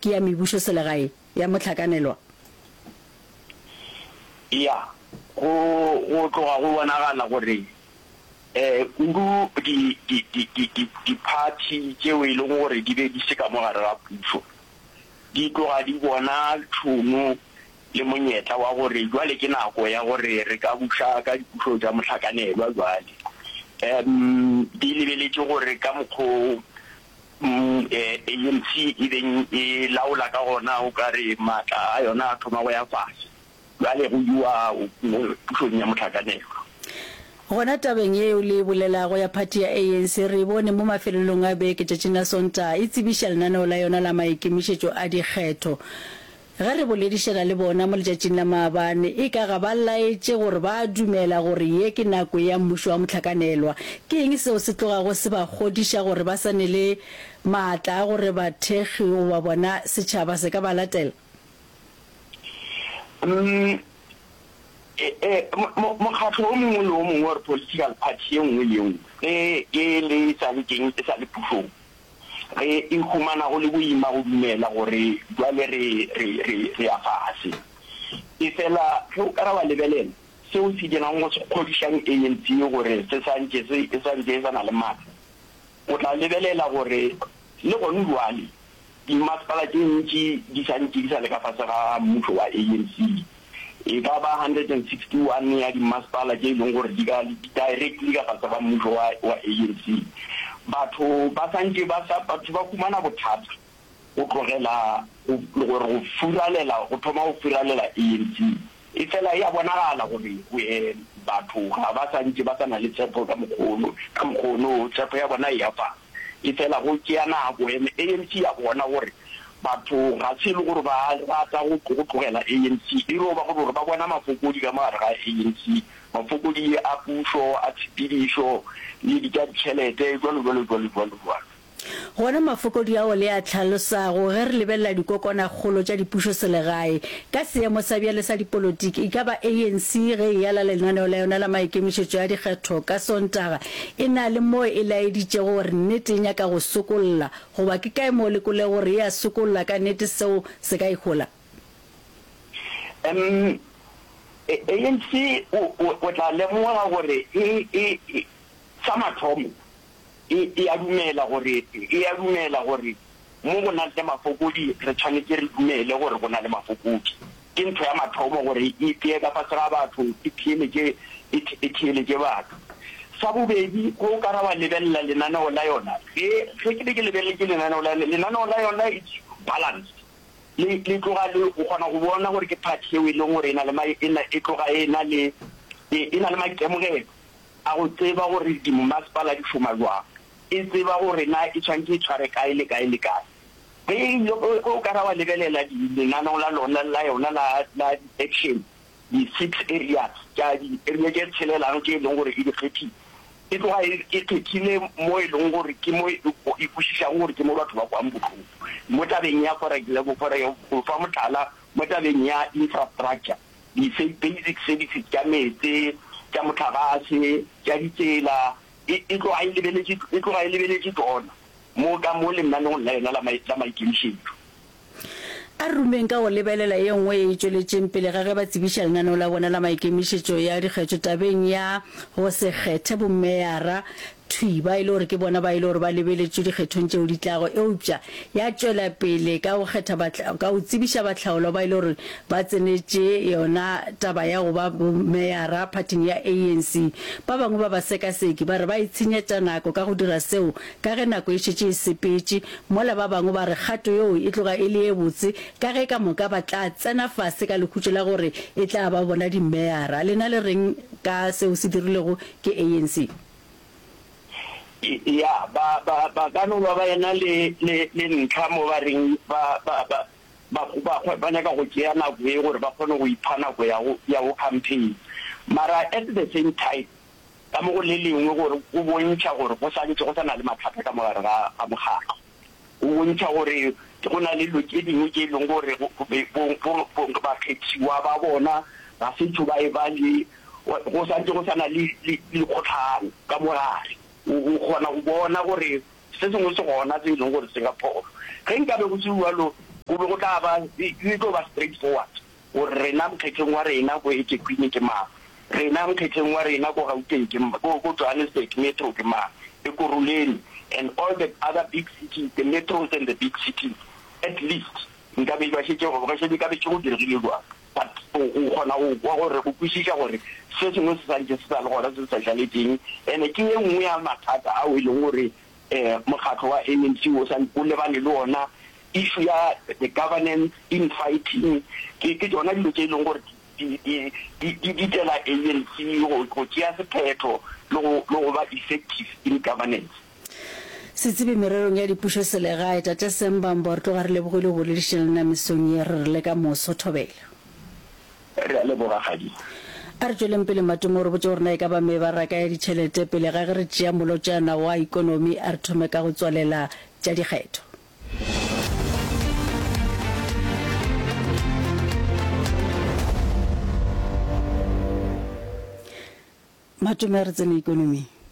ke ya mebušoselegae ya mohlakanelwa? Ya, go, go tloga go bonagala gore um kudu di, di, di, di, di, diphathi tšeo e lego gore di be di se ka mo gare ga pušo, di tloga di bona tšhono le monyetla wa gore bjale ke nako ya gore re ka buša ka dipušo tša mohlakanelwa bjale. Um di lebeletše gore ka mokgwa o ANC e beng e laola ka gona o ka re maatla a yona a thoma go ya fase, bjale go iwa pušong ya mohlakanelwa. Gona tabeng yeo le e bolelago ya phathi ya ANC re e bone mo mafelelong a beke tšatšing la Sontaga e tsebiša lenaneo la yona la maikemišetšo a dikgetho. Ge re boledišana le bona mo letšatšing la maabane, eka ga ba laetše gore ba a dumela gore ye ke nako ya mmušo wa mohlakanelwa. Ke eng seo se tlogago se ba kgodiša gore ba sa ne le maatla a gore bathekgi goba bona setšhaba se ka ba latela? Umm, mokgatlo o mongwe le o mongwe or political party ye nngwe le ye nngwe ge e le e sa le teng, e sa le pušong, Re e humana go le boima go dumela gore bjale re, re, re, re ya fase. Efela ge o ka ra wa lebelela, seo se dirago go se kgodišang ANC gore se sa ntše se, e sa ntše e sa na le matla, o tla lebelela gore le gona bjale dimasepala tše ntši di sa ntše di sa le ka fase ga mmušo wa ANC. E ka ba 161 ya dimmasepala tše e leng gore di ka di directly ka fase ga mmušo wa wa ANC. Batho ba santše ba sa batho ba humana bothata go tlogela go gore go furalela go thoma go furalela ANC. E fela e a bonagala gore batho ga ba santše ba sa na le tshepo ka mokgwa ono ka mokgwa ono tshepo ya bona e ya fase. Efela go tšea nako and ANC ya bona gore batho ga se e le gore ba rata go go tlogela ANC, e no ba gore ba bona mafokodi ka mo gare ga ANC, mafokodi a pušo, a tshepedišo le di tša ditšhelete, jwalo jwalo jwalo jwalo jwalo. Gona mafokodi ao le a hlalosago ge re lebelela dikokwanakgolo tša dipušoselegae ka seemo sa bjale sa dipolotiki, e ka ba ANC ge e ala lenaneo la yona la maikemišetšo a dikgetho ka Sontaga E na le moo e laeditšego gore nnete e nyaka go sokolla, goba ke kae moo le kwelego gore e a sokolla ka nnete seo se ka e hola? Um ANC o, o, o tla lemoga gore e, e, e, sa mathomo, e, e a dumela gore, e a dumela gore Mo go nang le mafokodi, re tshwanetše re dumele gore go na le mafokodi. Ke ntho ya mathomo gore e ipee ka fase ga batho, e theeletše, e, e theeletše batho. Sa bobedi, ge o ka ra wa lebelela lenaneo la yona, ge, ge ke be ke lebeletše lenaneo la yona, lenaneo la yona it's balanced. Le, le tloga le, o kgona go bona gore ke party yeo e leng gore e na le ma, e na, e tloga e na le, e, e na le maitemogelo a go tseba gore dimmasepala di šoma jwang. E tseba gore na e tshwanetše e tshware kae le kae le kae. Ge e ile, ge o ka ra wa lebelela di, lenaneo la lona, la yona la, la di-action, di-six areas tša di-area tše tshelelang tše e leng gore e di kgethile, e tloga e, e kgethile mo e leng gore ke mo e, e kwešišago gore ke mo batho ba kwang bohloko. Mo tabeng ya, for example, for, go fa mohlala, mo tabeng ya infrastructure, di basic services tša meetse, tša mohlagase, tša ditsela, E, e tloga e lebeletše, e tloga e lebeletše tšona mo ka mo lenaneong la yona la, la maikemišetšo. A re rumeng ka go lebelela ye nngwe ye e tšweletšeng pele ga ge ba tsebiša lenaneo la bona la maikemišetšo ya dikgetho tabeng ya go se kgethe bomeyara thwi ba e le gore ke bona ba e le gore ba lebeletšwe dikgethong tšeo di tlago eupša ya tšwela pele ka go kgetha ka go tsebiša bahlaolwa ba e le gore ba tsenetše yona taba ya go ba bomeyara phathing ya ANC. Ba bangwe ba basekaseki ba re ba itshenyetša nako ka go dira seo ka ge nako e šetše e sepetše, mola ba bangwe ba re kgato yeo e tloga e le ye botse ka ge ka moka ba tla tsena fase ka lekhutšo la gore e tla ba bona dimeyara. Lena le reng ka seo se dirilwego ke ANC? Ya, ba, ba, ba ka no ba ba ena le, le, le ntlha mo ba reng ba, ba, ba, ba, ba, ba nyaka go tšea nako ye gore ba kgone go ipha nako ya go, ya go campaign. Mara at the same time, ka mo go le lengwe gore go bontšha gore go sa ntše go sa na le mathata ka mo gare ga, ga mokgatlo. Go bontšha gore go na le dilo tše dingwe tše e leng gore bakgethiwa ba bona ga se tšo ba e ba le, go sa ntše go sa na le dikgohlano ka mo gare. O kgona go bona gore se sengwe se gona se e leng gore se ka phošo. Ge nkabe go se bjalo. Go be go tla ba, e tlo ba straight forward gore rena mokgetheng wa rena ko eThekwini ke mang, rena mokgetheng wa rena ko Gauteng ke, ko, ko Johannesburg metro ke mang, Ekurhuleni and all the other big cities, the metros and the big cities, at least nka be ba šetše, go šetše ka be tše go diregile jwang. But o, o kgona go kwa gore, go kwešiša gore se sengwe se santše se sa le gona se se sa šaletšeng. And ke ye nngwe ya mathata ao e leng gore Mokgatlo wa ANC o sa o lebane le ona, issue ya the governance, infighting, ke ke tšona dilo tše e leng gore di di di di ditela ANC go go tšea sephetho le go le go ba effective in governance. Setsebi mererong ya dipušoselegae, Tate Sam Bambo, re tloga re lebogile go boledišana le nna mesong ye, re re le ka moso. Thobela. Re a leboga, Kgadi. A re tšweleng pele Matomo o re botše gore na e ka ba mebaraka ya ditšhelete pele ga ge re tšea molotšana wa ikonomi a re thome ka go tswalela tša dikgetho. Matome a re tsene ikonoming.